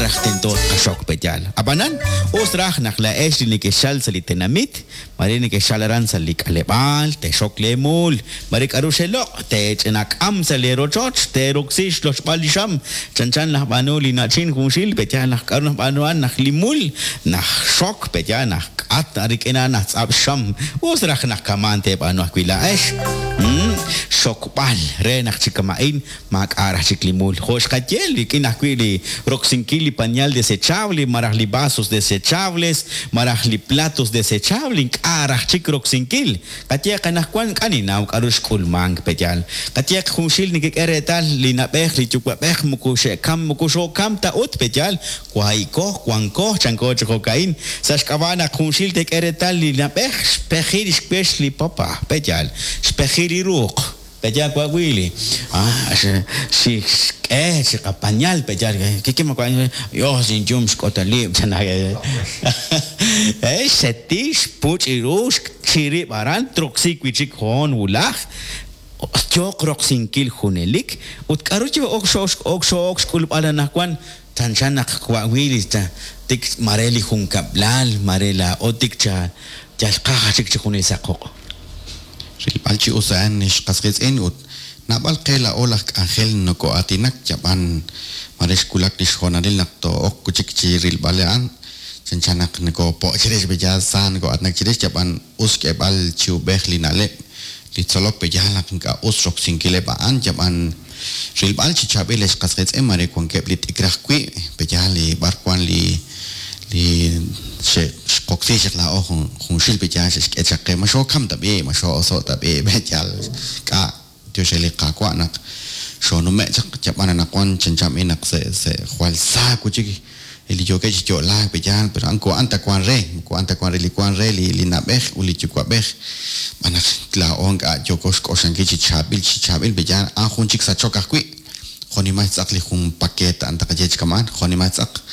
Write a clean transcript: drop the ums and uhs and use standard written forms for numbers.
raj tento tqaxok pe'yaal. Ab'anan, us raj naq laa'ex li nekexchalk sa' li tenamit, mare nekexchalk aran sa' li k'aleb'aal, teexok leemuul, mare k'aru xeloq', teech'inak'am sa' leerochoch, teeroksi xlochb'al li xam, chanchan laj b'aanu li na'chin junxil, pe'yaal naq k'aru najb'aanu a'an naq li mul najxok, pe'yaal naj k'at rik'in a'an najtz'ab' xxam, us raj naq kama'an teeb'aanu ajwi' laa'ex. Xokb'al re naq chi kama'in maak'a' raj chik li mul. Jo' xqaye, rik'in ajwi' li roksinkil li pañal desechable malaj li vasos desechables malaj li platos desechable ink'a' raj chik roksinkil. Qayehaq anaqwan ink'a' ninnaw k'aru xk'ulmank pe'yaal. Qayehaq junxil nekek'e reetal li na'b'ej li yuwa'b'ej moko xe'kam moko xookam ta ut pe'yaal wahi'ko wanko chanko chi jo'ka'in sa' xk'ab'a' naq junxil teek'e reetal li na'b'ej xpeji li xwex li papa pe'yaal xpeji li ruq pe'yaal wa' Willy ah xik'e chi qapañal pe'yaal kiki ma wa' yos inyum xk'otalib' chan xseti xpuch' ru xchi rib' aran troksi wi' chik hoon wulaj yooq roksinkil junelik ut k'aru yook xo'ok xk'ulb'al anaqwan chanchan naq wa' Willy tik mare li junkab'lal mare laa'o tik cha yal qaj chik chi junes sa' qoq'. Rilb'al chi us a'an xqas qiitz'in ut naab'al qe laa'o laj k'anjel noko'aatinak yab'an mare xwulak li xhoonalil naq too'ok wi' chik chi rilb'al a'an chanchan naq nokopo' chirix pe'yaal sa noko'aatinak chirix yab'an us xk'eeb'al chi ub'ej li na'leb' li tzolok pe'yaal naq ink'a' us roksinkileb' a'an yab'an rilb'al chi chaab'il ex qas qiitz'in mare wankeb' li t'ikr ajwi' pe'yaal li b'ar wan li li xe'xqoksi chaq laa'o junxil pe'yaal xe'xk'e chaq qe ma xookam ta b'i' ma xoo'oso' ta b'i' pe'yaal k'a' tiox re li Qaawa' naq xoonume' chaq yab'an anaqwan chanchan b'i' naq se se jwal sa wi' chik li yookeb' chi yo'laak pe'yaal pero a'an moko a'an ta wan re moko a'an ta wan re li wan re li li na'b'ej ut li yuwa'b'ej b'an naq laa'o ink'a' yooko xk'oxlankil chi chaab'il chi chaab'il pe'yaal a'an jun chik sachok ajwi' jo'nimal xtz'aq li jun paquete a'an taqaye chi kama'an jo'nimal xtz'aq.